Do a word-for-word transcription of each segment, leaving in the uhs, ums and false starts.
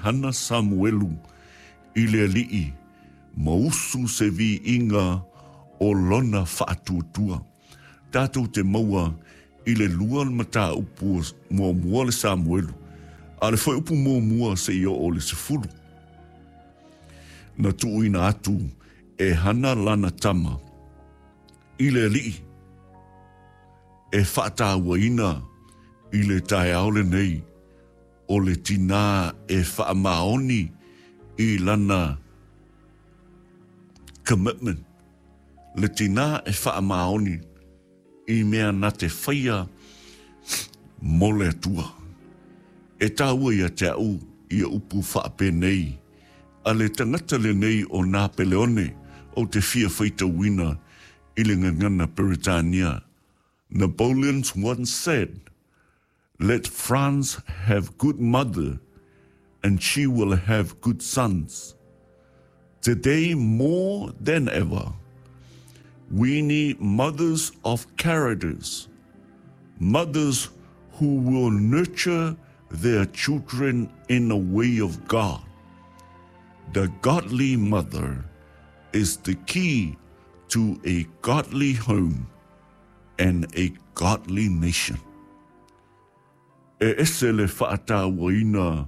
Hana Samuelu i le Alii ma usu se viiga o lona faatuatua. Tatou te maua i le lua le mataupu muamua le Samuelu, a le fuaiupu muamua seia oo i le sefulu. Na tuuina atu e Hana lana tama i le Alii e faatauaina i le taeao lenei o le tinā e faamaoni i lana commitment, le tinā e faamaoni i mea na te faia mo le Atua. E taua ia te au ia upu faapenei a le tagata lenei o Napeleone ou te fia faitauina i le gagana Peretania. Napoleon once said, "Let France have good mother and she will have good sons." Today more than ever, we need mothers of characters, mothers who will nurture their children in the way of God. The godly mother is the key to a godly home and a godly nation. E ese le faatauaina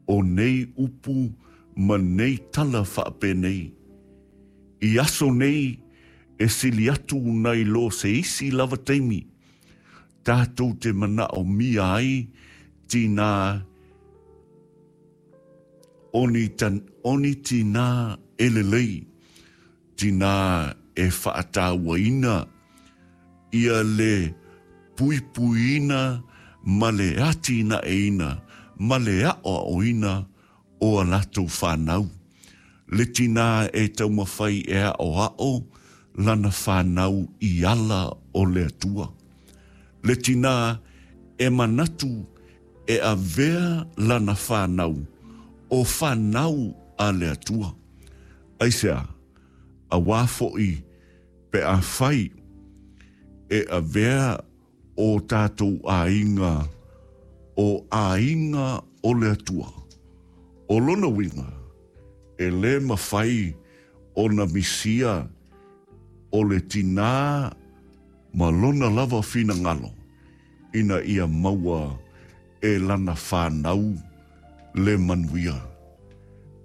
o nei upu ma nei tala faapenei. I aso nei e sili atu nai lo se isi lava taimi, tatou te manaomia ai tinā o ni, tan, o ni tinā e lelei, tinā e faatauaina ia le puipuiina ma le atinaeina ma le aʻoaʻoina o a latou fanau. Le tinā e taumafai e aʻoaʻo lana fanau i ala o le Atua. Le tinā e manatu e avea lana fanau o fanau a le Atua. Aisea, auā foʻi pe afai e avea o tatou aiga o aiga o le Atua. O lona uiga, e lē mafai ona misia o le tinā ma lona lava finagalo ina ia maua e lana fanau le manuia.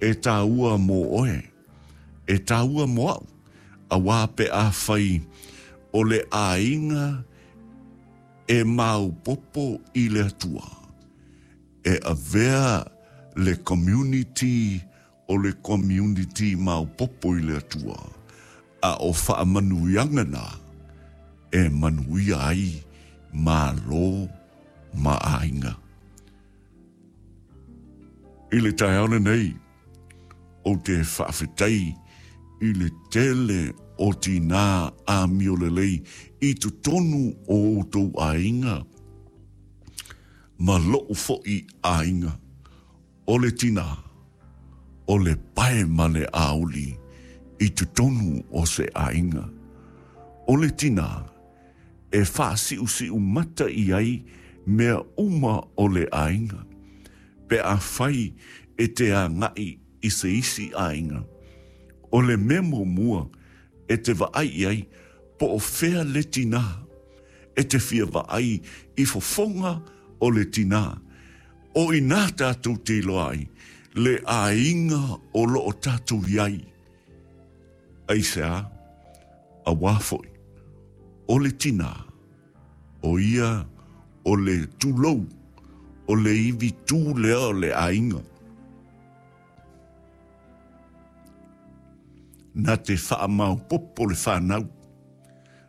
E taua mo oe, e taua mo au, auā pe afai o le aiga e maopoopo i le Atua. E avea le community o le community maopoopo i le Atua. A o faamanuiaga na e manuia ai Malo ma aiga. I le taeao lenei, ou te faafetai i le tele o tinā amio lelei i totonu o outou aiga ma loʻu foʻi aiga. O le tinā, o le pae ma le auli i totonu o se aiga. O le tinā, e faasiusiu mata i ai mea uma o le aiga, pe afai e te agai i se isi aiga. O le mea muamua e te vaai i ai po o fea le tinā, e te fia vaai i fofoga o le tinā. O i inā tatou te iloa ai le aiga o lo o tatou i ai. Aisea? Auā foʻi, o le tinā, o ia o le tulou, o le ivi tū lea o le aiga. Na te faamaopoopo le fanau,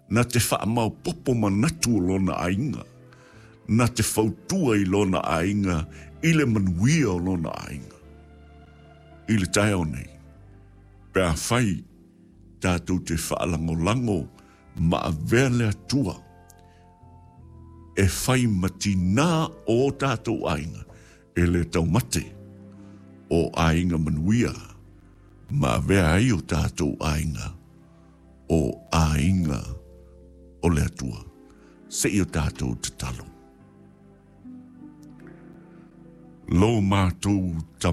na te faamaopoopo manatu o lona aiga, na te fautua i lona aiga i le manuia o lona aiga. I le taeao nei, pe afai tatou te faalagolago ma avea le Atua e fai ma tinā o o tatou aiga, e lē taumate o aiga manuia ma avea ai o tatou aiga o aiga o le Atua. Se i o tatou tatalo. Lo matou Tama.